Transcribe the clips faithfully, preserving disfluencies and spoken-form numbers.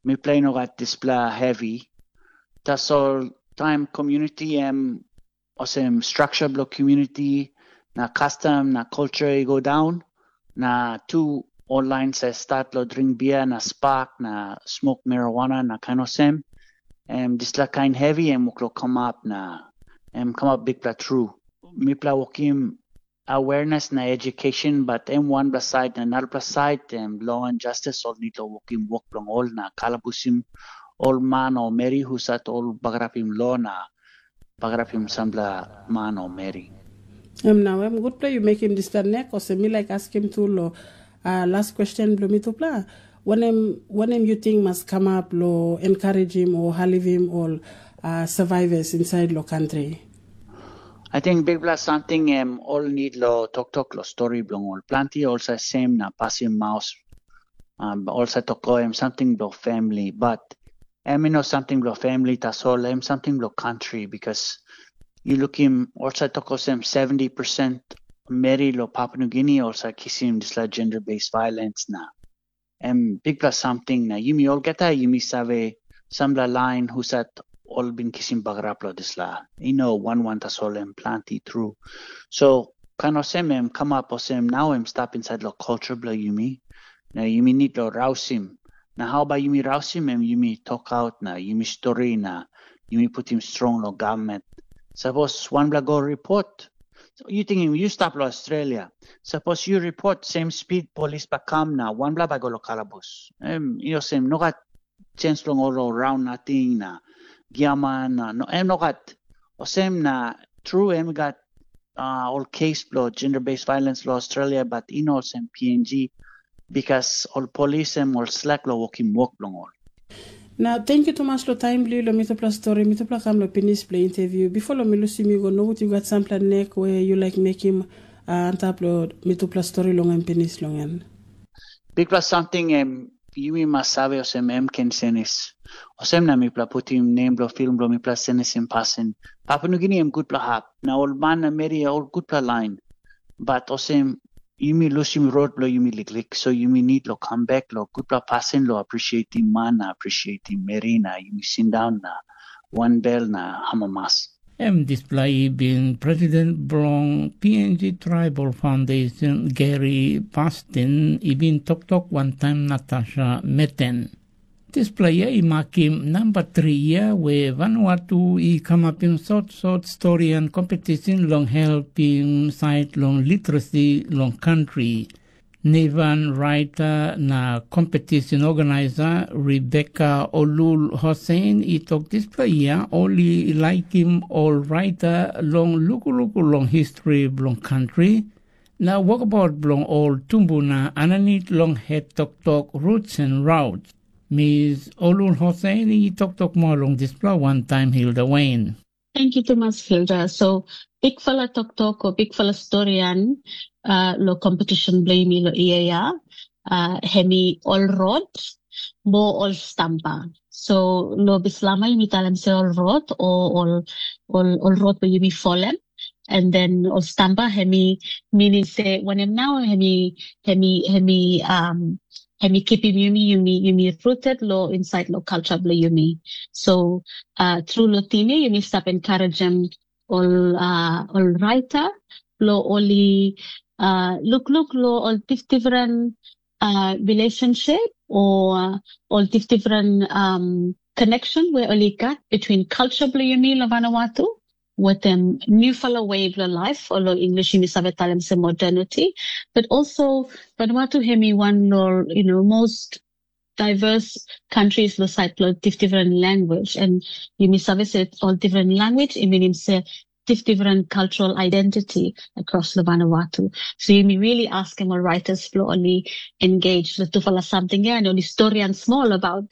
mipela i no gat dispela hevi. Tasol taim community em olsem structure bilong community na custom na culture i go down, na tu ol lain sa start lo dring bia na spak na smok marijuana na kain olsem, em dispela kain hevi em wok lo kamap na em kamap bikpela tru. Mipela wokim awareness na education, but em wanpela side na narapela side em law and justice ol need lo wokim wok bilong ol na kalabusim ol man o meri husat ol bagarapim law na bagarapim sampela man o meri. Em nau em gutpela yu mekim dispela nek, olsem mi laik askim tu lo uh, last question bilong mitupela. Wanem, wanem yu ting mas kamap lo encouragim o halivim ol uh, survivors inside lo country? I think bikpela something em ol need lo toktok lo story bilong ol. Planti olsa sem na pasim maus, um, olsa toko em something bilong family, but em you know something bilong family tasol em something bilong country because you look him olsa toko sem seventy percent meri lo Papua New Guinea olsa kisim disla gender-based violence na em bikpela samting na yumi olgeta yumi save sampela lain husat ol bin kisim bagarap long dispela. I no wan wan tasol em planti tru. So kain olsem em kamap olsem nau em stap insait long culture bilong yumi. Na yumi nid long rausim. Na hau bai yumi rausim em yumi tokaut na yumi stori na yumi putim strong long gavman. Sapos wanpela go ripot, yu tingim yu stap long Australia. Sapos yu ripot sem spid polis bai kam na wanpela bai go long kalabus. Em i olsem no gat chens bilong ol raun nating na giaman na no, em no gat. Olsem na tru em i gat uh, ol kes bilong gender-based violence long Australia, but i no olsem P N G because ol polis em ol slek long wokim wok bilong ol. Na tenkyu tumas long taim bilong yu long mitupela stori, mitupela kam long pinis bilong interview. Bipo long mi lusim yu go, nogut yu gat sampela nek we yu laik mekim uh, antap long mitupela stori long em pinis long en. Bikpela samting em yumi mas save olsem em ken senis. Olsem na mipela putim nem bilong film bilong mipela senisim pasin. Papua Nugini em gutpela hap, na ol man na meri ol gutpela lain. Bat olsem yumi lusim rot bilong yumi liklik, so yumi nid lo kam bek lo gutpela pasin lo appreciatim man na appreciatim meri na yumi sindaun na wanbel na amamas. Em dispela i bin president bilong P N G Tribal Foundation Gary Bastin i bin toktok wantaim Natasha Meten. Dispela yia i makim namba tri yia we Vanuatu i kamapim sotsot storian kompetisin long helpim sait long literasi long kantri. Nivan raita na kompetisin organisa Rebeka Olul Hosein i tok dispela yia ol i laikim ol raita long lukuluku long histri bilong kantri na wokabaut bilong ol tumbuna aninit long het toktok Roots and Routes. Mis Olul Hosein i toktok moa long dispela wantaim Hilda Wain. Thank you tumas Hilda. So bikfala toktok o bikfala storian uh, lo competition blame lo iea uh, hemi ol rot mo ol stampa. So lo bislama yumi talem se ol rot o ol ol ol rot be yumi folem. And then ol stampa hemi meaning se wanem now hemi hemi hemi um hemi kipim yumi yumi yumi rooted lo inside lo culture blo yumi. So uh, through lo tini yumi stap encouragem ol uh, ol writer lo oli uh, look look lo ol different uh, relationship or uh, ol different um, connection where oli got between culture blo yumi lo Vanuatu with them new fellow way of life or lo English yumi save talem se modernity, but also Vanuatu hemi one lo you know most diverse countries lo side lo different language and yumi save se all different language it means se different cultural identity across lo Vanuatu. So yumi really ask him all writers lo only engage lo tufala something and only story and small about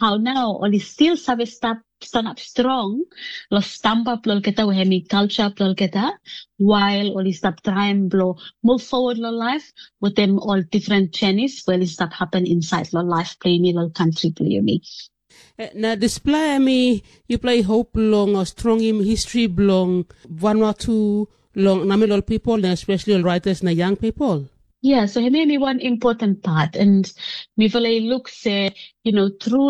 how now only still save stap stand up strong lo stampa plo olgeta we hemi culture plo olgeta while oli stap traim blo move forward lo life with them all different journeys we oli stap happen inside lo life plo yumi lo country plo yumi. Eh, na dispela em i yupela i hop long uh, strongim history bilong Vanuatu long namel ol people na especially ol writers na young people. Yeah, so hemi mi one important part and mi feel I look say, you know, through